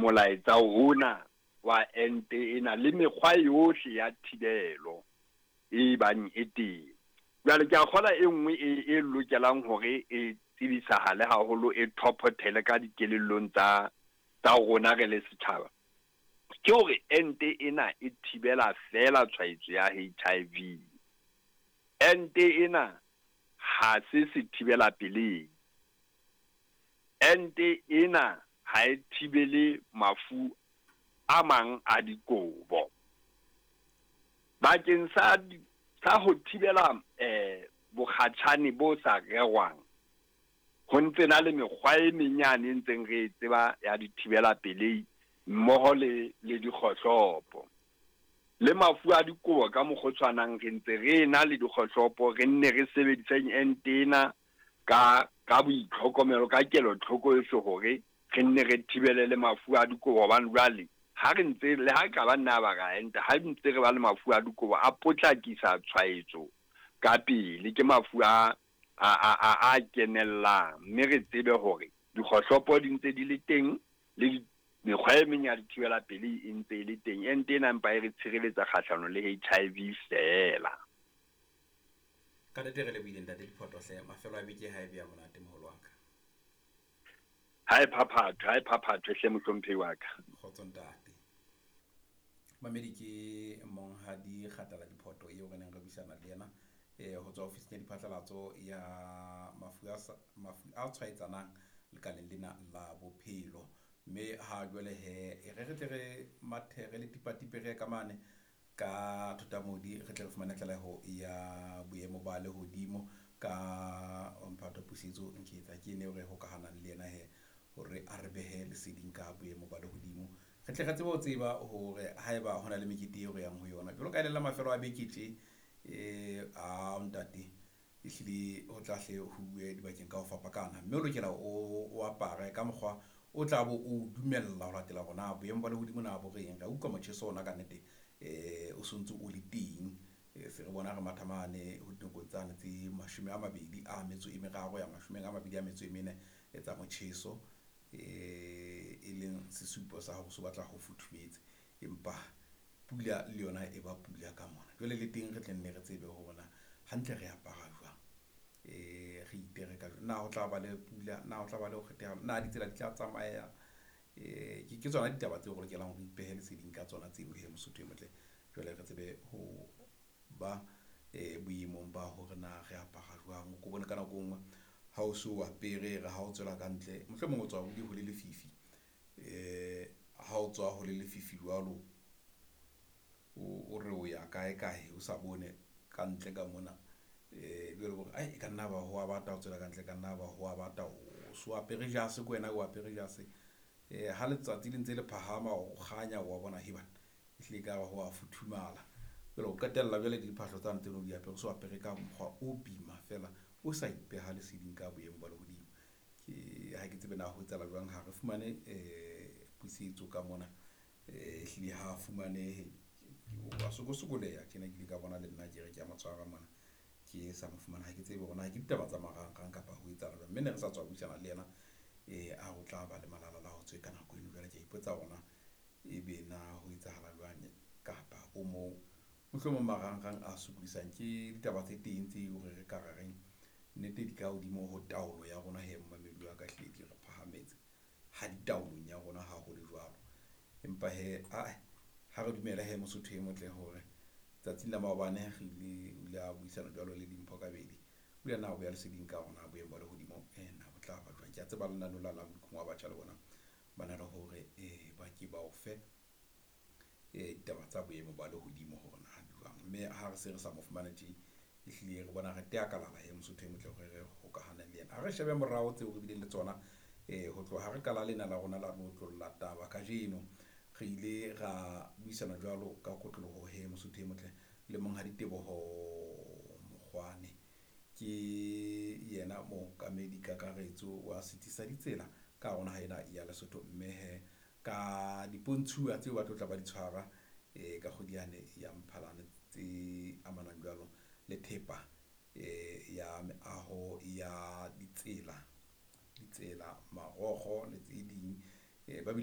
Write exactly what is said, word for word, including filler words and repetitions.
molaetsa ona wa ente ena le mekgwa yohle ya thibelo e bang e teng. Jwale ke a kgola e nngwe e e lokelang hore e tsebisahale haholo, e thophothele ka dikelellong tsa tsa rona re le setjhaba, ke hore ente ena e thibela feela tshwaetso ya H I V. Ente ena ha se se thibela pelehi. Ente ena ha e thibele mafu a mang a dikobo. Bakeng sa sa ho thibela eh bokgatjhane bo sa rerwang, ho ntse na le mekgwa e menyane e ntseng re e tseba ya dithibela pelehi mmoho le le dikgohlopo. Le mafu a dikobo ka mokgwa o tshwanang, re ntse re na le dikgohlopo, re nne re sebediseng ente ena ka ka boitlhokomelo, ka kelotlhoko yohle hore re nne re thibele le mafu a dikobo. Hobane jwale ha re ntse le ha ka ba nna ba ra enta, ha ntse re ba le mafu a dikobo a potlakisa tshwaetso ka pele, ke mafu a a a a kenellang, mme re tsebe hore dikgohlopo di ntse di le teng le mekgwa e meng ya dithibela pelehi e ntse e le teng. Ente ena empa e re tshireletsa kgahlano le H I V feela. Ka nnete re lebohile ntate Diphoto hle, mafelo a beke ha e be a monate moholo wa ka. Ha e phaphathwe, ha e phaphathwe hle mohlomphehi wa ka. Kgotso ntate. Mamedi ke Monghadi Kgatala Diphoto eo re neng re buisana le yena eh ho tswa ofising ya diphatlalatso ya mafu a mafu a tshwaetsanang lekaleng lena la bophelo. Mme ha jwale he e re re tle re mathe re le tipatipe re ka mane ka Thotamodi, re tle re fumane tlaleho ya boemo ba lehodimo ka Mphato Pusetso Nketsa, ke ene re hokahanang le yena he hore a re behe leseding ka boemo ba lehodimo, re tle re tsebe ho tseba hore haeba hona le mekete eo re yang ho yona jwalo ka e le la mafelo a beke tje. Eh a ntate ehlile ho tla hle ho bue dibakeng ka ho fapakana, mme o lokela o o apare ka mokgwa o tla bo o dumella ho latela hore na boemo ba lehodimo na bo reng. Re utlwa motjheso ona ka nnete eh o sontse o le teng, se re bona re matha mane ho dinakong tsane tse mashome a mabedi a metso e meraro ya mashome a mabedi a metso e mene tsa motjheso, eh e leng sesupo sa hore so batla ho futhumetse, empa pula le yona e ba pula ka mona. Jwale le teng re tle nne re tsebe hore na hantle re apara jwang, eh re itere ka jwang, na ho tla ba le pula, na ho tla ba le ho kgetheha, na ditsela di tla tsamaya. Eh ke ke tsona ditaba tseo re lokelang hore ipehe leseding ka tsona tseo he Mosotho e motle. Jwale re tsebe ho ba eh boemong ba hore na re apara jwang. O ko bone ka nako e nngwe ha o so apere re ha o tswela ka ntle, mohlomong o tswa ho ho le lefifi, eh ha o tswa ho le lefifi jwalo o re o ya kae kae o sa bone ka ntle ka mona, eh jwale hore ai e ka nna ba ho a bata o tswela ka ntle, ka nna ba ho a bata o so apere jase ko wena o apere jase, eh ha letsatsi le ntse le phahama o kganya wa bona he bana ehlile ka ho a futhumala. Jwale o qetella jwale diphahlo tsane tseno di apere, so apere ka mokgwa o bima fela o sa ipeha leseding ka boemo ba lehodimo. Ke ha ke tsebe na ho etsahala jwang, ha re fumane eh pusetso ka mona, eh ehlile ha fumanehe, wa sokosokoleha tjena. Ke ile ka bona le nna ke re ke a motshwara mona ke sa mo fumana, ha ke tsebe hore na ke ditaba tsa marangrang kapa ho etsahala jwang. Mme ne re sa tswa buisana le yena eh a ho tla ba le malala la ho tswe ka nako eno. Jwale ke a ipotsa hore na ebe na ho etsahala jwang kapa o mo mohlomong marangrang a sokodisang. Ke ditaba tse teng tse hore re ka re reng nnete di ka hodimo ho taolo ya rona he mmamedi wa ka, hlile di re phahametse ha di taolong ya rona ha ho le jwalo. Empa he ae ha re dumele he Mosotho e motle hore tsatsing la maobane re ile o ile a buisana jwalo le Dimpho Kabedi, o ile na o beha leseding ka hore na boemo ba lehodimo eh na bo tla ba jwang. Ke a tseba lenaneo la la Modikong wa batjha le bona ba na le hore eh ba ke ba o fe eh ditaba tsa boemo ba lehodimo hore na di jwang. Mme ha re se re sa mo fumane tje, ehlile re bona re tea kalala he Mosotho e motle hore re hokahane le yena. Ha re shebe morao tseo re bileng le tsona eh ho tloha ha re qala lena la rona la re otlolla taba kajeno, re ile ra buisana jwalo ka kotloloho he Mosotho e motle le Monghadi Teboho Mokgwane, ke yena mookamedi kakaretso wa setsi sa ditsela ka hare ho naha ena ya Lesotho. Mme he ka dipontshuwa tseo ba tlo tla ba di tshwara eh ka kgwedi yane ya Mphalane tse amanang jwalo le thepa eh ya meaho ya ditsela, ditsela, marokgo le tse ding, eh ba bile